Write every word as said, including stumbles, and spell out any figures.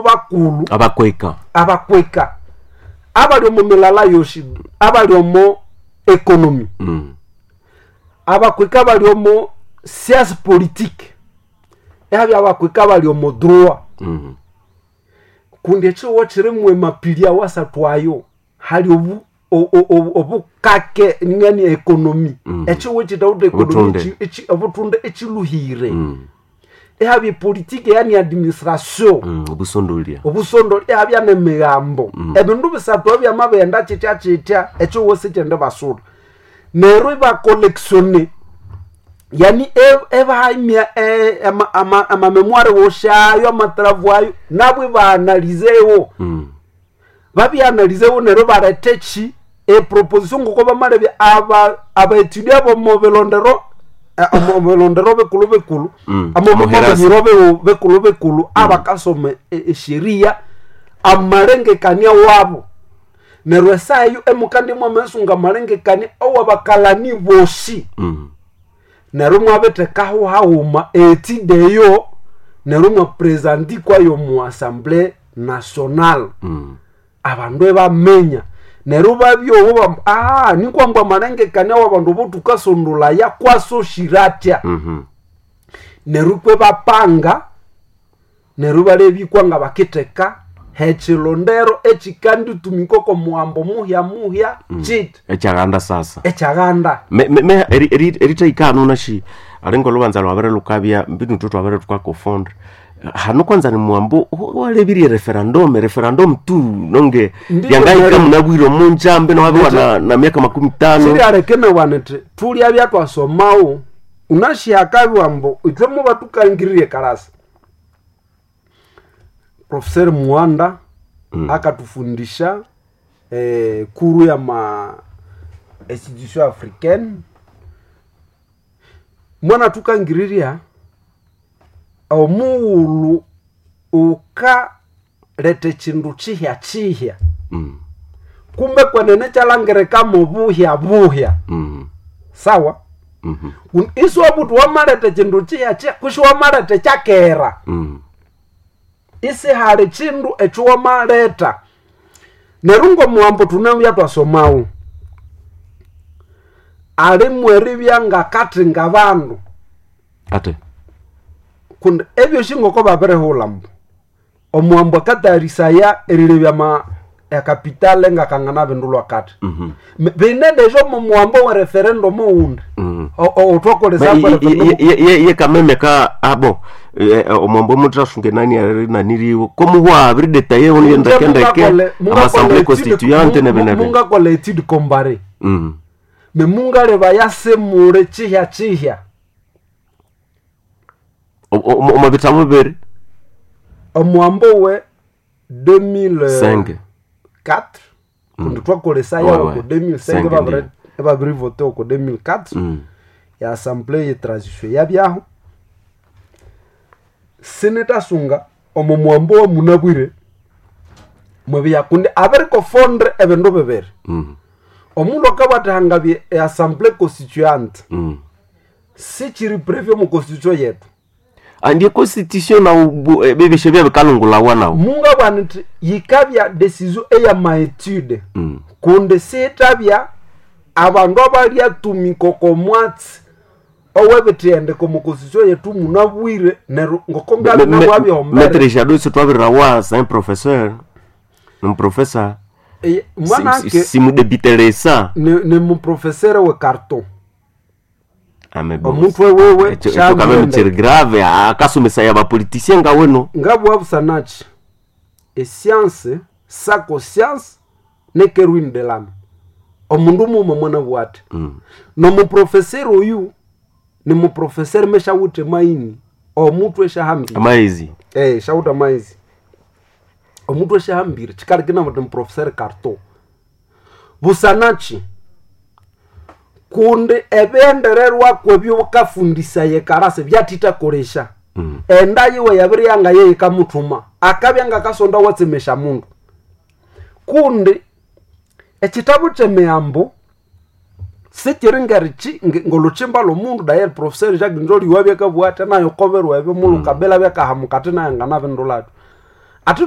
Bakulu Abakweka. Abakweka abali omo milala yoshi, abali omo économie, mm. abakweka bali omo science politique, ehabya abakweka bali omo droit. Mm. Kundi ekihugo kirimu emapili awasathu ayo, hali obu o- o- o- obukake ngani économie. Mm. Ekihugo ekitawutha économie Obutunde. echi- echi- obutunde ekiluhire. Mm. Ehabya epolitike, yani administration. Mm. Obusondolia. Obusondo, ehabya nemigambo. Ebindu bisathu ebyamabighenda kitya kitya, ekihugo sikyende basula neryo ibacollectionne, yani e- ebahamya e- ama- ama- amamémoire woshayo, amatravaux ayo, nabo ibaanalizewo. mm. Babyanalizewo neryo bareta eki eproposition ngoko bamalebya aba abaétudiants bomo bilondero, eh, omo bilondero bikulu bikulu, Mm. amo Omuherasi. biro biwu- bikulu bikulu abakasoma e- esheria, amalengekania wabo. Neryo esaa eyo emukandi mwamesunga amalengekania owabakalani bosi. Mm. Neryo mwabithekaho haghuma étude eyo, neryo mwapresentikwayo mu assemblée nationale. Mm. Abandu ebaminya, neryo babyowo bam ah nikwambwa amalengekania wabandu botukasondolaya kwasoshira atya. Mhm. Neryo kwe bapanga, neryo balebikwa nga bakitheka hekilondero ekikanditumika oko muhambo muhya muhya kiti Ekyaganda sasa. Ekyaganda. Me- me- me eri- eri- eritaikano nashi alinga olubanza lwabere lukabya mbinu tu twabere tukakofondra hano kwanza ni mwambo walebirie referendum referendum tu nonge. Ndiyo. Lyangaika Nero- munabwire omunjambe nowabiwa na, na miaka makumi tano. Sirialekenewa nti tulya byatwasomawo unashihakabwa mbu ithwe muba tukangiririe karasa. Professeur Muanda Mm. akatufundisha eh, kuru ya ma institution africaine, mwana tukangiriria omughulhu ukaleta ekindu kihya kihya, mm. kumbe kwenene kyalangirikamo buhya buhya. Mm. Sawa. Mm Un- isiwabuthi wamaleta ekindu kihya kihya kusi wamaleta ekyakera. -hmm. Isihali kindu ekyo wamaleta. Neryo ngomuhambo tunabya twasomawo alimu eribya ngakathinga bandu. Ate. Kundi ebyosi ngoko babirihulha mbu omuhambo akatayarisaya erilebya ma ekapitale ngakangana bindulwa kati. mm M- bine deja omo muhambo wa referendum owundi -hmm. otwakolesa. Ye kameme ka abo omwambo mutrasunge nani ari naniriwo komuhwa abiri detaye ono ndekendeke amassemblée constituante nebenebe. Mungakola étude comparée, mm me mungaleba yasemule kihya kihya. Omo bitabo bibiri. Omuhambo we deux mille quatre, cinq. kundi twakolesa Ouais, yawo ouais. ku deux mille cinq. Cinq, babiri- ndiyo. babirivote oko deux mille quatre. mm Ya assemblée ye transition yabyaho, sinitasunga omo muhambo wa munabwire mwebya kundi abirikofondre ebindu bibiri. mm Omundu akabathahangabye eassemblée constituante, mm sikiri prévu omu constitution yetu. Andie constitution na bibishe bya bikalungulawa nawo. Mungabwana nti yikabya decision eyamaetude, mm kundi sitabya abandu abalyatumika oko mwatsi owebithendeko omu constitution yetu munabwire. Neryo ngoko ngabinabwabyombere. Maître Jadot sitwabirirawa c'est un professeur, un professeur. Mwanake Simudebiteresa. ni, ni muprofesere we carton. Ame bon. Omuntu wewewe. Ekyo ekyo kameme kiri grave akasomesa ya bapoliticien nga weno. Ngabwabusanachi escience sako science nekerwin de lame omundu muma mwana bwate. Mm. Nomuprofesere oyu ni muprofesere meshawuthe maini omutu eshahambire. Amaizi. Eh, shawutha maizi omutu eshahambire chikalikina muti muprofesere carton busanachi kundi ebyendererwako ebyokafundisa karase byatitakolesha. Mm. Enda yiwe yabiri yanga yeyikamuthuma akabya ngakasonda watsemesha mundu kundi ekitabu kyemiyambo sikiri ngerichi nge- ngolhuchimba lwomundu. Daye professeur Jacques Njoli wabyakabugha ati nayo koberwa ebyo mulukabela byakahamukati nayo nganabindulathu Ate